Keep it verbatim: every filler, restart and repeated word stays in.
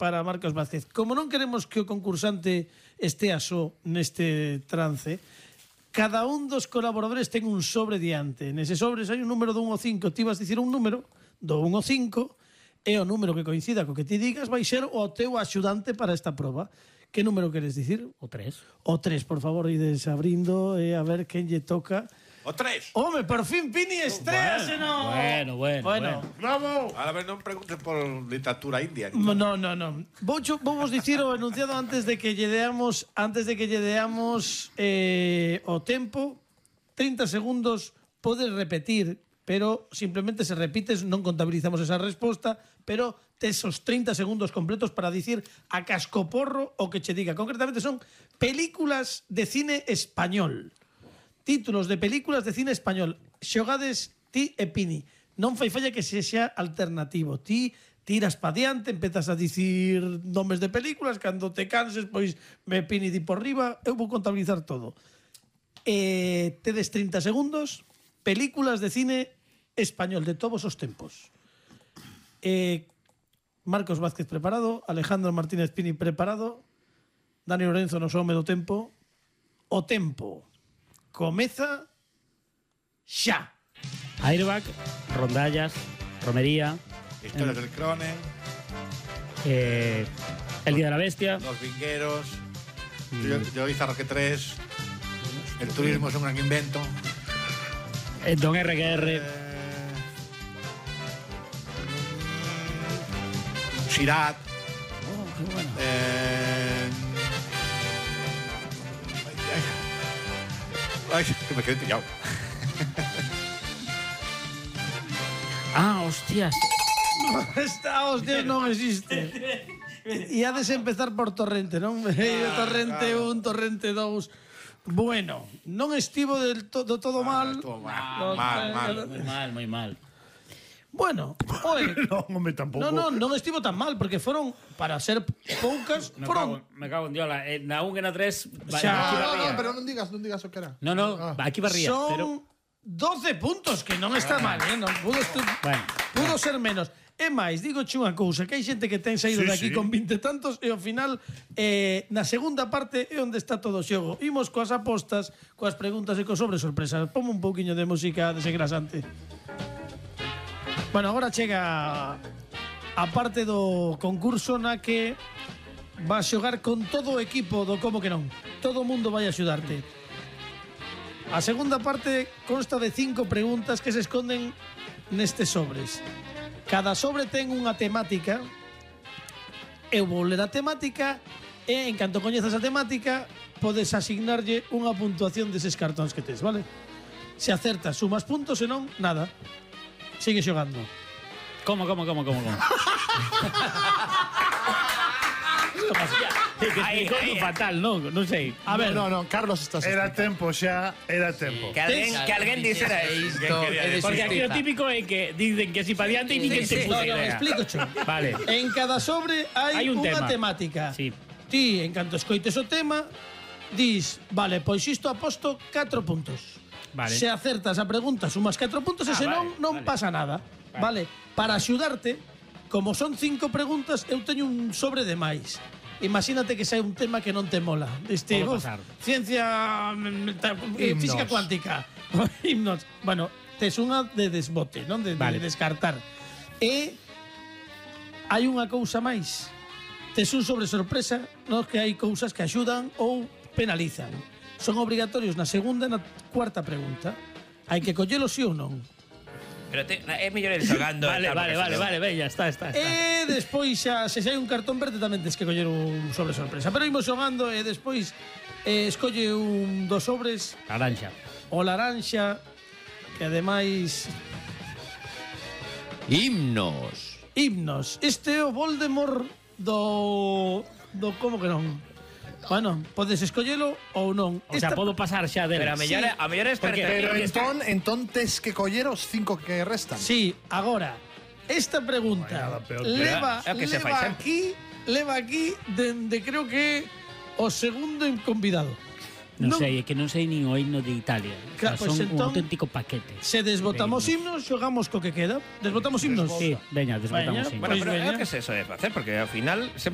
para Marcos Vázquez. Como non queremos que o concursante estea só neste trance, cada un dos colaboradores ten un sobre diante. Nese sobre hai un número do un ao cinco. Ti vas dicir un número do un ao cinco e o número que coincida co que ti digas vai ser o teu axudante para esta proba. Que número queres dicir? O tres. O tres, por favor, ides abrindo e a ver quen lle toca. O tres. Home, por fin Pini estréase, no. Bueno, bueno, bueno. Bravo. A ver, non preguntes por literatura india. No, no, no. Vou vos dicir o enunciado antes de que lle deamos, antes de que lle deamos eh, o tempo. trinta segundos, podes repetir, pero simplemente se repites, non contabilizamos esa resposta, pero tes os trinta segundos completos para dicir a cascoporro o que che diga. Concretamente son películas de cine español. Títulos de películas de cine español. Xogades ti e Pini. Non fai falla que se xa alternativo. Ti tiras pa diante, empezas a dicir nomes de películas, cando te canses, pois me Pini di por riba, eu vou contabilizar todo. Eh, tedes trinta segundos, películas de cine español de todos os tempos. Eh, Marcos Vázquez preparado, Alejandro Martínez Pini preparado, Dani Lorenzo no home do tempo. O tempo comeza xa. Airbag, rondallas, romería. Historias del Cronen. Eh, el Día de la Bestia. Los Vingueros. Mm. Yo hice Roque tres. El turismo es un gran invento. Eh, Don R G R. Eh, Sirat. Oh, qué bueno. Eh, Ay, que me quedé pillado. Ah, hostias. Esta hostia non existe. E ha de empezar por Torrente, non? Ah, torrente claro. un, Torrente dous. Bueno, non estivo del to, do todo mal. Todo mal, Ah, mal, mal. Muy mal, muy mal. Bueno, oye, no, hombre, tampoco. No, no, non estivo tan mal, porque foron, para ser poucas, Me foron... cago, me cago en Diola. Eh, na un e na tres... Xa. aquí No, barría. no, pero non digas, non digas o que era. No, no, Ah. aquí barría. Son Pero... doce puntos, que non está mal, eh? Non, pudo, Bueno. pudo ser menos. É máis, digo che unha cousa, que hai xente que ten saído Sí, de aquí sí. con vinte tantos e ao final, eh, na segunda parte é onde está todo o xogo. Imos coas apostas, coas preguntas e cos sobre sorpresas. Ponme un pouquiño de música desengrasante. Bueno, agora chega a parte do concurso na que vas xogar con todo o equipo do Como que non. Todo o mundo vai axudarte. A segunda parte consta de cinco preguntas que se esconden nestes sobres. Cada sobre ten unha temática. Eu vou ler a temática e, en canto coñezas a temática, podes asignarlle unha puntuación deses cartóns que tes, vale? Se acertas, sumas puntos, se non, nada. Sigue xogando. ¿Cómo, cómo, cómo, cómo, cómo? Ai, ai, fatal, non, non sei. A ver, No, no, Carlos estás. Era tempo xa, era tempo. Que alguén, que alguén dixera isto é de Porque aquí o xustiza. típico é que dicen que si pa diante e nin Sí, se sí. puta no, no, idea. explico cho. Vale. En cada sobre hai, Hai un unha tema. temática. Sí. Ti, en canto escoites o tema, dis, vale, pois isto aposto catro puntos. Vale. Se acertas a pregunta, sumas catro puntos e Ah, senón vale, non vale. pasa nada. Vale. Para axudarte, como son cinco preguntas, eu teño un sobre de máis. Imagínate que sai un tema que non te mola. Este, Pode uf, pasar. ciencia, mm, ta- eh, Himnos. física cuántica. Himnos. Bueno, tes unha de desbote, non? De, Vale. de descartar. E hai unha cousa máis. Tes un sobre sorpresa, no? Que hai cousas que axudan ou penalizan. Son obrigatorios na segunda e na cuarta pregunta. Hai que collelo sí ou non. Pero te, é mellor ir xogando. Vale, e tal, vale, porque vale, senón- vale, ben, ya está, está, está. E despois xa, se xa hai un cartón verde tamén tes que coller un sobre sorpresa. Pero imos xogando e despois eh, escolle un dos sobres, Naranja. o laranxa, que ademais Himnos. himnos. Este é o Voldemort do do como que non. Bueno, podes escollelo ou non. O sea, podo pasar xa del. Pero a mellor, Sí. a mellor é Porque- experta. Pero porque entón, entón tes que coller os cinco que restan. Sí, agora esta Vai, pregunta nada peor. leva, Pero é o que se fai leva sempre. aquí, leva aquí dende creo que o segundo convidado. Non sei, é que non sei nin o himno de Italia. O sea, Claro, pues son un entón- auténtico paquete. Se desbotamos De himnos, xogamos co que queda. Desbotamos himnos. Sí, veña, desbotamos Veña, himnos. Bueno, Pois pero é veña. o que se eso é facer, porque ao final sempre